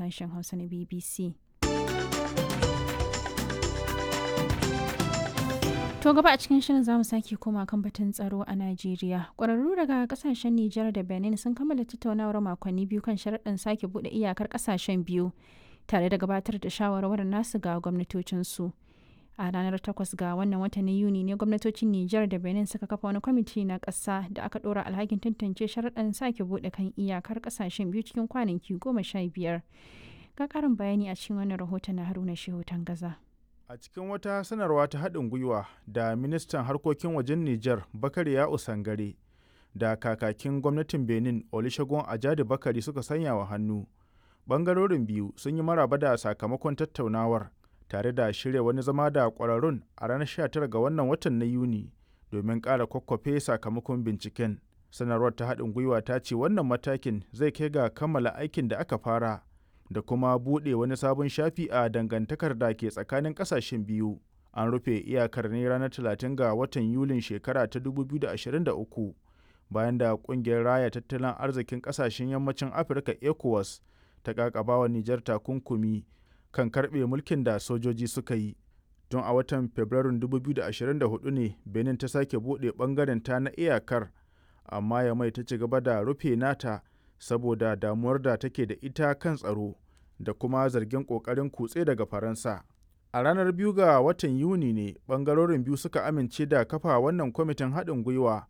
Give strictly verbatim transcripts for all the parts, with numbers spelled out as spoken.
sashen Hausa na B B C. To gaba a cikin shirin zamu sake koma kan batun tsaro a Najeriya. Ƙwararru daga kasashen Nijar da Benin sun kammala tattaunawar makonni biyu kan sharaɗin sake buɗe iyakar kasashen biyu tare da gabatar da shawarwarin nasu ga gwamnatocinsu. A ranar takwas ga wannan watan Yuni ne gwamnatocin Nijar da Benin suka kafa wani kwamiti na ƙasa da aka ɗora alhakin tantance sharaɗin sake buɗe kan iyakar kasashen biyu cikin kwanaki goma sha biyar. Ga ƙarin bayani a cikin wannan rahoton na Haruna Shehu Tangaza. A cikin wata sanarwa ta haɗin gwiwa da ministan harkokin wajen Nijar Bakari Ya'u Sangare da kakakin gwamnatin Benin Olusegun Ajadi Bakari suka sanya wa hannu. Bangarorin biyu sun yi maraba da sakamakon tattaunawar tare da shirya wani zama da ƙwararrun a ranar sha tara ga wannan watan na Yuni domin ƙara kwakwafe sakamakon binciken. Sanarwar ta haɗin gwiwa ta ce wannan matakin zai kai ga kammala aikin da aka fara da kuma buɗe wani sabon shafi a dangantakar da ke tsakanin ƙasashen biyu. An rufe iyakar ne ranar talatin ga watan Yulin shekara ta dubu biyu da ashirin da uku bayan da ƙungiyar raya tattalin arzikin ƙasashen yammacin Afirka ECOWAS ta ƙaƙabawa Nijar takunkumi kan karɓe mulkin da sojoji suka yi. Tun a watan Fabrairun dubu biyu da ashirin da hudu ne Benin ta sake buɗe ɓangaren ta na iyakar, amma Yamai ta ci gaba da rufe nata saboda damuwar da take da ita kan tsaro da kuma zargin ƙoƙarin kutse daga Faransa. A ranar biyu ga watan Yuni ne ɓangarorin biyu suka amince da kafa wannan kwamitin haɗin gwiwa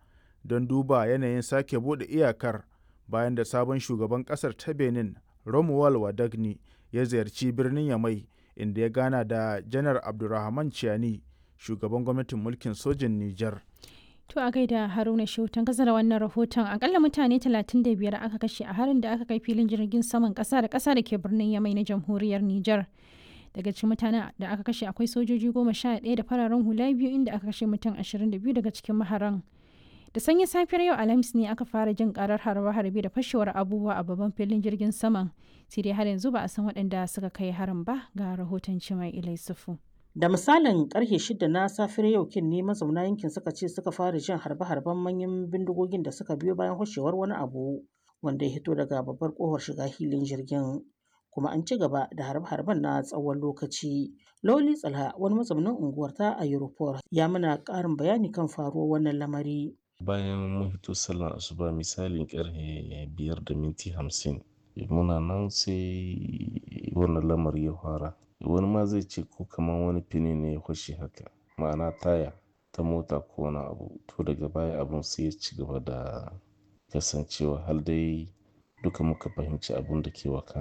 don duba yanayin sake buɗe iyakar bayan da sabon shugaban ƙasar ta Benin Romuald Wadagni ya ziyarci birnin Yamai inda ya gana da Janar Abdurrahman Chiani, shugaban gwamnatin mulkin sojin Nijar. To a gaida Haruna Shehu gaza da wannan rahoton. Akalla mutane talatin da biyar aka kashe a harin da aka kai filin jirgin saman kasa da kasa da ke birnin Yamai na jamhuriyar Nijar. Daga cikin mutanen da aka kashe akwai sojoji goma sha ɗaya da fararen hula biyu, inda aka kashe mutum ashirin da biyu daga cikin maharan. Da sanyin safiyar yau Alhamis ne aka fara jin karar harbe-harbe da fashewar abubuwa a babban filin jirgin saman. Sai dai har yanzu ba a san waɗanda suka kai harin ba. Ga rahoton Cimai Ilai Sufu. Da misalin karfe shida na safiyar yau kin ne mazauna yankin suka ce suka fara jin harbe-harben manyan bindigogin da suka biyo bayan hoshewar wani abu wanda ya hito daga babbar kofar shiga hilin jirgin. Kuma an ci gaba da harbe-harben na tsawon lokaci. Loli Tsalha, wani mazaunin unguwar ta a Europol, ya mana ƙarin bayani kan faruwar wannan lamari. Bayan mun fito sallar asuba misalin karfe biyar da minti hamsin muna nan sai wannan lamari ya fara. Wani ma zai ce ko kamar wani fini ne ya fashe haka, ma'ana taya ta mota ko wani abu. To daga baya abun sai ya ci gaba da kasancewa har dai duka muka fahimci abun da ke wakana.